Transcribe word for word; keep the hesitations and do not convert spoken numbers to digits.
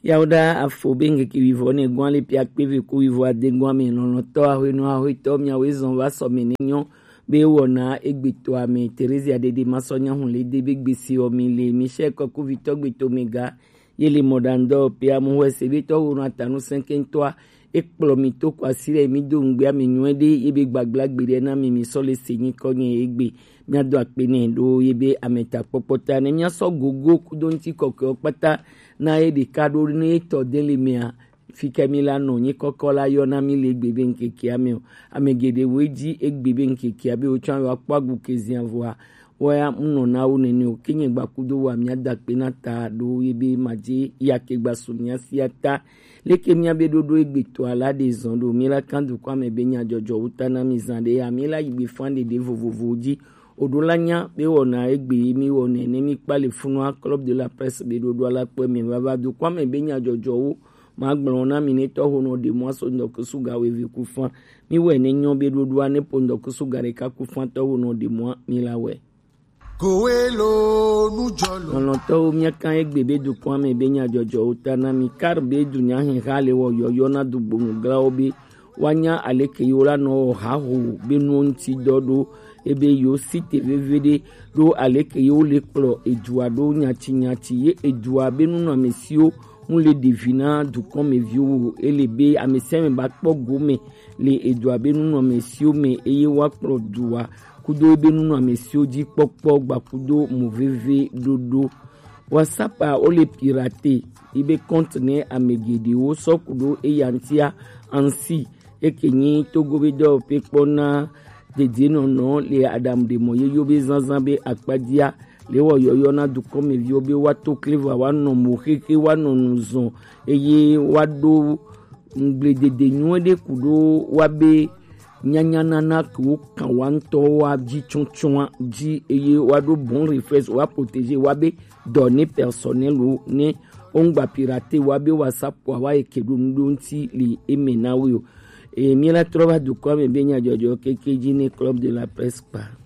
Yawoɖa afo be ŋkeke wivɔ ne gɔn ale pia kpeve ku wivɔ ade gɔn ame lɔlɔtɔ ahwenɔ ahwetɔ miawo ezɔn va sɔ me ne nyɔ be wɔna egbetɔ ame Terezia dede masɔ nyahun le de be gbesi ɔ mi le Michel kɔkuvitɔ gbeto me ga ye le mɔɖaŋdɔ pe amuhɔ ese be tɔ wonɔ atanu sɛnkɛntɔa ekplɔ mi to kɔ asi ɖe mi do ŋgbe ame nyuɛ ɖe ye be gbagblagbe ɖe na mi mi sɔ le se nyikɔ nye egbe miado akpe nɛ ɖo ye be ame ta kpɔkpɔ ta ne miasɔ gogo kudo ŋuti kɔkɔe kpata na ye ɖeka ɖo ne etɔ de le mea, fi ke mi la nɔ nyi kɔkɔ la yɔ na mi le egbe be ŋkekea me o. Ame geɖe wo edzi egbe be ŋkekea be wotsɔ ayɔ akpɔ agu ke zia vɔa, woya ŋnɔ na wo nene o. Ke nye gba kudo wa mia da akpe na ta ɖo ye be madze ya ke gba su mia sia ta. Leke mia be ɖoɖo egbe tɔ ala ɖe zɔn ɖo mi la kan dukɔ ame be nya jɔjɔ wuta na mi zan ɖe ya mi la yi gbe fan ɖeɖe vovovowo dzi. Oɖo la nya be wɔna egbe ye mi wɔ nɛ ne mi kpa le funua Club de la Presse be ɖoɖo ala kpɔe me vava dukɔ ame be nya jɔjɔwo ma gblɔ na mi ne tɔ ho nɔ ɖe mɔ aso ŋdɔkusu ga weve ku fan mi wɛ ne nyɔ be ɖoɖoa ne po ŋdɔkusu ga ɖeka ku fan tɔ ho nɔ ɖe mɔ mi la wɛ. Kowe lo nujɔlo. Lɔlɔtɔwo miakan egbe be dukɔa me be nya jɔjɔwo ta na mi kar be dunya hɛha le wɔ yɔyɔ na dugbonu glawo be woanya aleke yewo la nɔ wɔ haho be nuwo ŋuti dɔ ɖo ebe yewo si te veviɖe ɖo aleke yewo le kplɔ edua ɖo nyati nyati ye edua be nunɔamesiwo ŋu le ɖevi na dukɔmeviwo o. Ele be amesiame ba kpɔ gome le edua be nunɔamesiwo me eye woakplɔ dua kudo ebe nunɔamesiwo dzi kpɔkpɔ gba kudo mo veve ɖoɖo. WhatsApp a wole pirate yi be compte ne ame geɖewo sɔ ku ɖo eya ŋutia ansi eke nyi togo be dɔwɔƒe kpɔ na dedienɔnɔ le aɖaŋuɖemɔ yeyewo be zazã be akpadzia le wɔ yɔyɔ na dukɔmeviwo be woato kleva woanɔ mo xexe woanɔ nu zɔn eye woaɖo ŋugbledede nyuie ɖe ku ɖo woabe nyanyanana ke wokan wa ŋutɔwo wa dzi tsɔtsɔa dzi eye woaɖo bon reflexe woaprotege woabe données personnelles wo ne wongba pirate woabe WhatsApp wa wa eke ɖo nu ɖo ŋuti le eme na wo o. Eye míela trɔ va dukɔa me be nyadzɔdzɔ keke dzi ne Club de la Presse kpa.